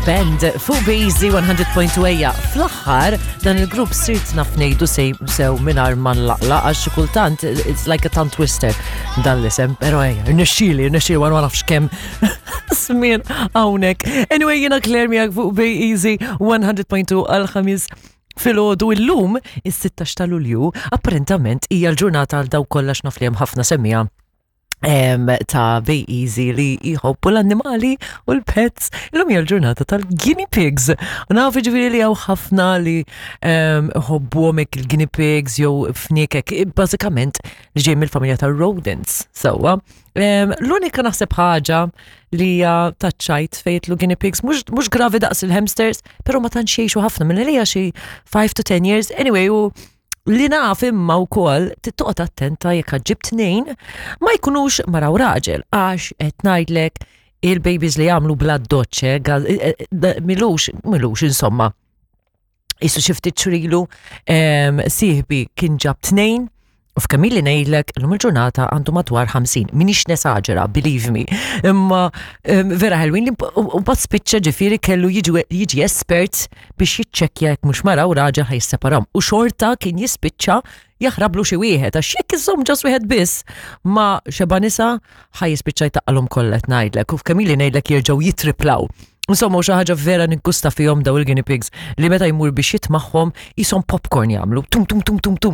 Band fuq Bazy 100.2 ejja. Fl-aħħar dan il-grupp sirt naf ngħidu sew mingħajr ma nlaqla għax xi kultant it's like a tongue twister dan l-isem, però ejja, rnexxieli, rnexxieli ma nafx kemm smien hawnhekk. Anyway, jiena Claire miegħek fuq Bay Easy 100.2 għal-ħamis filgħodu illum is-16 ta' Lulju apparentament hija l-ġurnata għal dawk kollha x'naf li hemm ħafna semmija ta' Bay Easy li jħobbu l-annimali u l-pets. Illum hija l-ġurnata tal-guinea pigs. U naf ġifieri li hawn ħafna li ħobbuhom hekk il-guinea pigs jew fniekek, bażikament li ġej mill-familja tar-rodents. Sewwa. L-unika naħseb ħaġa li hija taċċajt fejn lu guinea pigs mhux gravi daqs il-hamsters, però ma tantx jgħixu ħafna minn li xi 5 to 10 years. Anyway, u li naf imma wkoll tittoqgħod attenta jekk ġib tnejn ma jkunux mara u raġel għax qed ngħidlek il-babies li jagħmlu bla doċċe eh, eh, milux milux insomma. Isu xi ftit xrilu sieħbi kien ġab tnejn u f'kemm li ngħidlek illum il-ġurnata għandu madwar 50. Minix nesaġera, believe me. Imma vera ħelwin li u mbagħad spiċċa ġifieri kellu jiġi espert biex jiċċekkja jekk mhux mara u raġel ħa jisseparahom. U xorta kien jispiċċa jaħrablu xi wieħed għax jekk iżomm ġas wieħed biss ma xeba nisa ħa jispiċċa jtaqqalhom kollha qed ngħidlek u f'kemm ili ngħidlek jerġgħu jitriplaw. Insomma, xi ħaġa vera niggusta fihom daw il-guinea pigs li meta jmur biex jitmagħhom qishom popcorn jagħmlu tum tum tum tum tum.